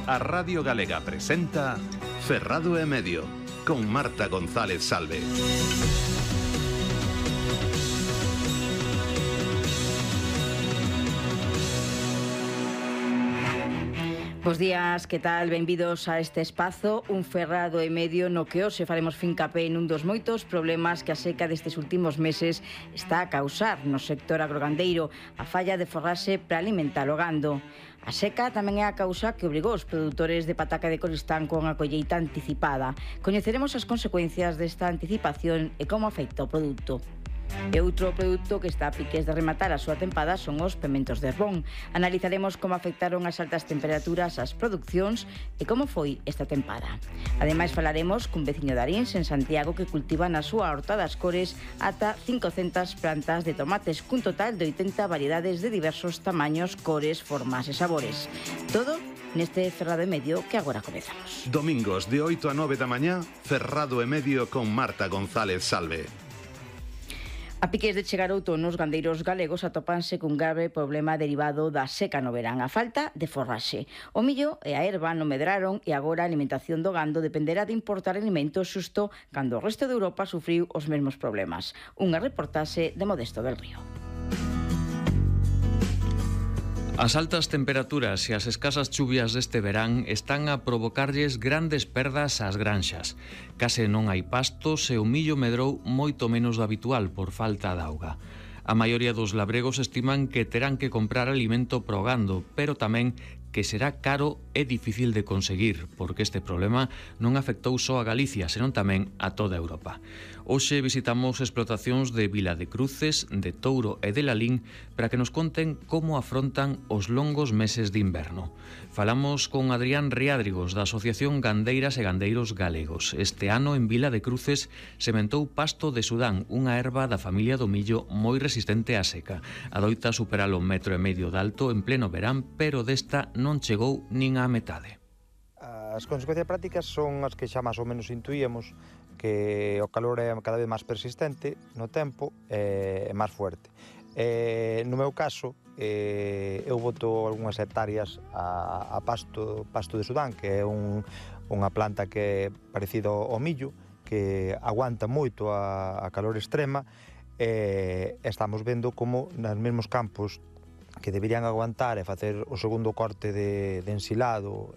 A Radio Galega presenta Ferrado e Medio, con Marta González Salve. Bos días, que tal? Benvidos a este espazo, un Ferrado e Medio no que hoxe faremos fincapé nun dos moitos problemas que a seca destes últimos meses está a causar no sector agrogandeiro, a falla de forraxe para alimentar o gando. A seca tamén é a causa que obrigou os produtores de pataca de Coristán con a colleita anticipada. Coñeceremos as consecuencias desta anticipación e como afecta o produto. E outro produto que está a piques de rematar a súa tempada son os pementos de Herbón. Analizaremos como afectaron as altas temperaturas ás producións e como foi esta tempada. Ademais falaremos cun veciño de Arins en Santiago que cultiva na súa horta das Cores ata 500 plantas de tomates cun total de 80 variedades de diversos tamaños, cores, formas e sabores. Todo neste Ferrado e Medio que agora comezamos. Domingos de 8 a 9 da mañá, Ferrado e Medio con Marta González Salve. A piques de chegar outono, os gandeiros galegos atópanse cun grave problema derivado da seca no verán, a falta de forraxe. O millo e a herba non medraron e agora a alimentación do gando dependerá de importar alimentos xusto cando o resto de Europa sufriu os mesmos problemas. Unha reportaxe de Modesto del Río. As altas temperaturas e as escasas chuvias deste verán están a provocarlles grandes perdas ás granxas. Case non hai pastos e o millo medrou moito menos do habitual por falta de auga. A maioría dos labregos estiman que terán que comprar alimento pro gando, pero tamén que será caro e difícil de conseguir, porque este problema non afectou só a Galicia, senón tamén a toda Europa. Hoxe visitamos explotacións de Vila de Cruces, de Touro e de Lalín para que nos conten como afrontan os longos meses de inverno. Falamos con Adrián Riádrigos, da Asociación Gandeiras e Gandeiros Galegos. Este ano en Vila de Cruces sementou pasto de Sudán, unha erva da familia do millo moi resistente á seca. Adoita superar o 1,5 metro de alto en pleno verán, pero desta non chegou nin á metade. As consecuencias prácticas son as que xa máis ou menos intuíamos, que o calor é cada vez máis persistente no tempo e máis fuerte. No meu caso, eu boto algunhas hectáreas a pasto de Sudán, que é unha planta que é parecido ao millo, que aguanta moito a calor extrema, e estamos vendo como nos mesmos campos que deberían aguantar e facer o segundo corte de ensilado